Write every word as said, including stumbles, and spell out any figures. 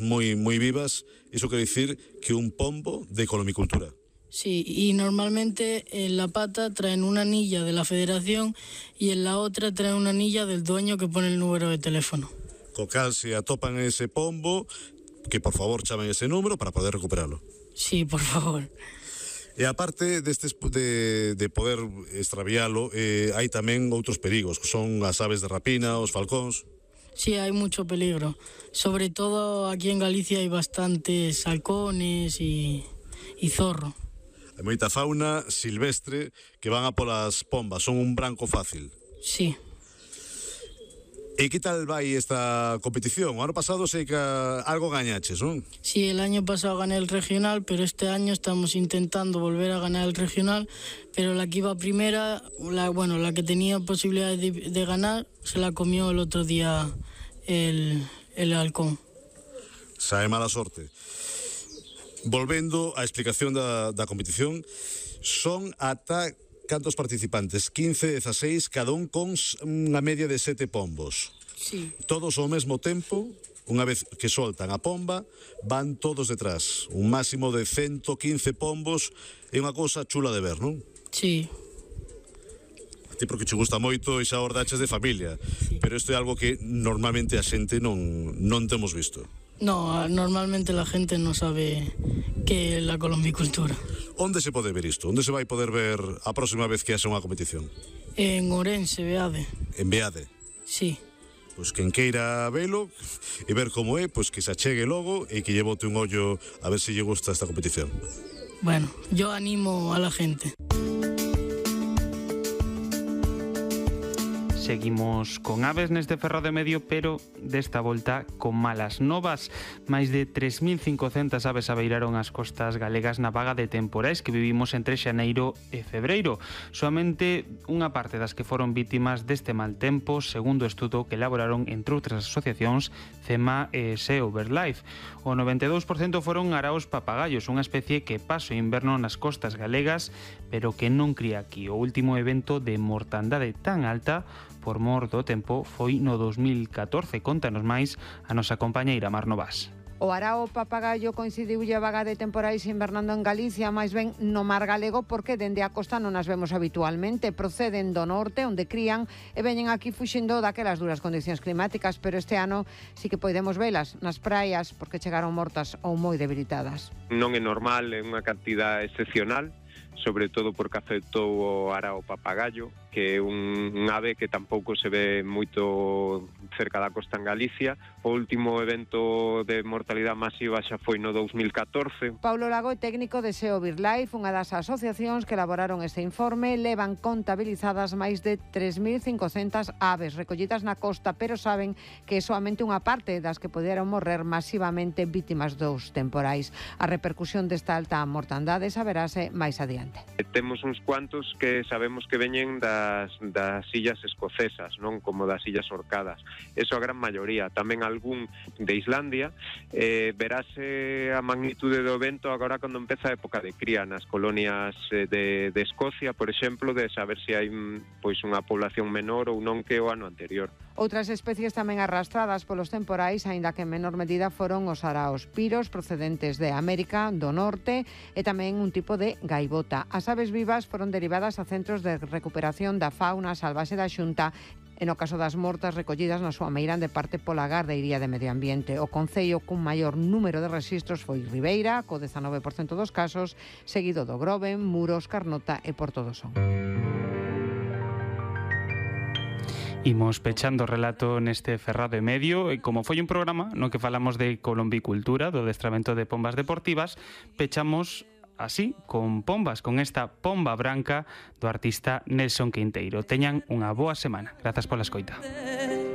moi moi vivas, iso quere dicir que un pombo de colombicultura. Sí, y normalmente en la pata traen una anilla de la federación y en la otra traen una anilla del dueño que pone el número de teléfono. Co cal, se atopan ese pombo, que por favor chamen ese número para poder recuperalo. Sí, por favor. E aparte destes de, de poder extravialo, eh, hai tamén outros perigos, que son as aves de rapina, os falcóns. Sí, hay mucho peligro. Sobre todo aquí en Galicia hay bastantes halcones y, y zorro. Hai moita fauna silvestre que van a polas pombas, son un branco fácil. Sí. E que tal vai esta competición? O ano pasado sei que algo gañaches, non? Sí, el año pasado gané el regional, pero este año estamos intentando volver a ganar el regional, pero la que iba primera, la, bueno, la que tenía posibilidad de, de ganar, se la comió el otro día el, el halcón. Sae mala sorte. Volvendo á explicación da, da competición, son ata cantos participantes? quince, dieciséis, cada un con unha media de sete pombos. Sí. Todos ao mesmo tempo, unha vez que soltan a pomba, van todos detrás. Un máximo de ciento quince pombos, é unha cousa chula de ver, non? Sí. A ti porque che gusta moito e xa ordaches de familia, sí. Pero isto é algo que normalmente a xente non, non temos visto. No, normalmente la gente no sabe que é la colombicultura. Onde se pode ver isto? Onde se vai poder ver a próxima vez que haxa unha competición? En Ourense, Beade. En Beade? Sí. Pois quen queira velo e ver como é, pois que se achegue logo e que lle bote un ollo a ver se lle gusta esta competición. Bueno, yo animo a la gente. Seguimos con aves neste ferrado medio, pero desta volta con malas novas. Máis de tres mil cincocentas aves abeiraron as costas galegas na vaga de temporais que vivimos entre xaneiro e febreiro. Soamente unha parte das que foron vítimas deste mal tempo, segundo o estudo que elaboraron entre outras asociacións CEMA e SEO BirdLife. O noventa e dous por cento foron araos papagallos, unha especie que pasa o inverno nas costas galegas, pero que non cría aquí. O último evento de mortandade tan alta por mor do tempo foi no dos mil catorce. Contanos máis a nosa compañeira Mar Novas. O arao papagallo coincidiulle a vaga de temporais invernando en Galicia, máis ben no mar galego, porque dende a costa non as vemos habitualmente. Proceden do norte, onde crían, e veñen aquí fuxindo daquelas duras condicións climáticas, pero este ano sí que podemos velas nas praias, porque chegaron mortas ou moi debilitadas. Non é normal, é unha cantidad excepcional, sobre todo porque afectou o arao papagallo, que é un, un ave que tampouco se ve moito cerca da costa en Galicia. O último evento de mortalidade masiva xa foi no dos mil catorce. Paulo Lago é técnico de SEO BirdLife, unha das asociacións que elaboraron este informe. Levan contabilizadas máis de tres mil cincocentas aves recollidas na costa, pero saben que é soamente unha parte das que poderon morrer masivamente vítimas dos temporais. A repercusión desta alta mortandade saberase máis adiante. Temos uns cuantos que sabemos que veñen das, das illas escocesas, non como das illas Orcadas. Eso a gran maioría. Tamén algún de Islandia. Eh, verase a magnitude do vento agora cando empeza a época de cría nas colonias de, de Escocia, por exemplo, de saber se hai pois unha población menor ou non que o ano anterior. Outras especies tamén arrastradas polos temporais, aínda que en menor medida, foron os araos piros procedentes de América do Norte e tamén un tipo de gaivota. As aves vivas foron derivadas a centros de recuperación da fauna salvaxe da Xunta, e no caso das mortas recollidas na súa meirande parte pola Gardeiría de Medio Ambiente. O concello cun maior número de rexistros foi Ribeira, co dezanove por cento dos casos, seguido do Groben, Muros, Carnota e Porto do Son. Imos pechando o relato neste ferrado e medio, e como foi un programa no que falamos de colombicultura, do adestramento de pombas deportivas, pechamos así, con pombas, con esta pomba branca do artista Nelson Quinteiro. Teñan unha boa semana. Grazas pola escoita.